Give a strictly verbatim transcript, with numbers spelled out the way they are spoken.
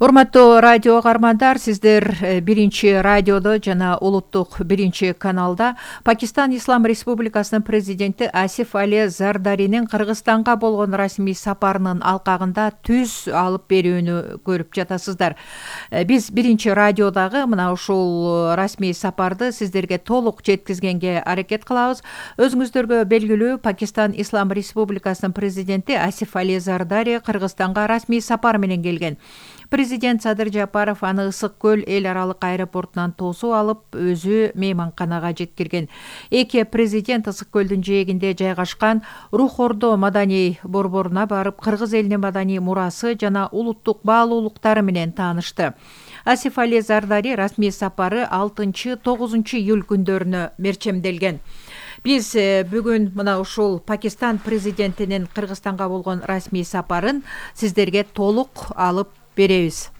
Урматтуу радио каармандар, сиздер биринчи радиодо жана улуттук биринчи каналда Пакистан Ислам Республикасынын президенти Асиф Али Зардаринин Кыргызстанга болгон расмий сапарынын алкагында түз алып берүүнү көрүп жатасыздар. Биз биринчи радиодагы мына ушул расмий сапарды сиздерге толук жеткизгенге аракет кылабыз. Өзүңүздөргө белгилүү, Пакистан Ислам Республикасынын президенти Асиф Али Зардари Кыргызстанга расмий сапар менен келген. Президент Садыр Жапаров аны Ысык көл эл аралык аэропортунан тосуп алып, өзү мейманканага жеткирген. Эки президент Ысык көлдүн жээгинде жайгашкан Рух Ордо маданий борборуна барып, кыргыз элинин маданий мурасы жана улуттук баалуулуктары менен таанышты. Асиф Али Зардари расмий сапары алтынчы тогузунчу июль күндөрүнө мерчемделген. Биз бүгүн мына ушул Пакистан президентинин Кыргызстанга болгон расмий сапарын сиздерге толук алып беребиз.